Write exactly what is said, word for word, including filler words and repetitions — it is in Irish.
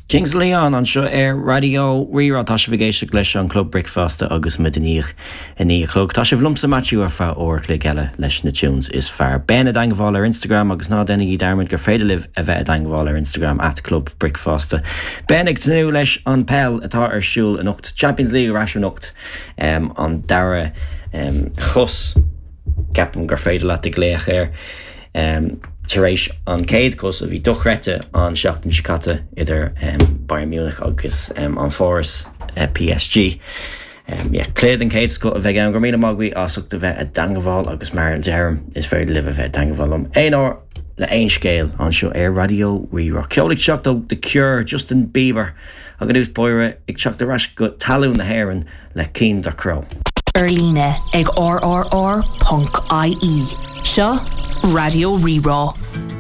Kings Leon anseo ar Raidió Rí-Rá tá sibh ag éisteacht leis an Club Bricfeasta agus muid i ndiaidh a naoi a chlog. Tá sibh liomsa Matthew ar feadh uair an chloig eile leis na tunes is fearr. Ben i dteagmháil ar Instagram agus ná déanaigí dearmad gur féidir libh a bheith i dteagmháil ar Instagram at Club Bricfeasta. Ben ag tnúth leis an peil atá ar siúl anocht Champions League ar ais anocht um, an dara um, chos ceapaim gur féidir leat a ghlaoch air. Um, tar éis an céad cos a bhí dochreidte an seachtain seo caite idir um, Bayern Munich agus um, an Pháras uh, PSG. Um, yeah, cluiche den chéad scoth a bheidh ann go míle maith as ucht a bheith i dteagmháil agus mar a deirim is féidir libh a bheith i dteagmháil liom. Aon uair le aon scéal anseo ar Raidió Rí-Rá. Ceol ag teacht ó The Cure Justin Bieber agus ús bóire ag teacht ar ais go talamh na hÉireann le Cian Ducrot. Ar líne ag rrr.ie. Seo Raidió Rí-Rá.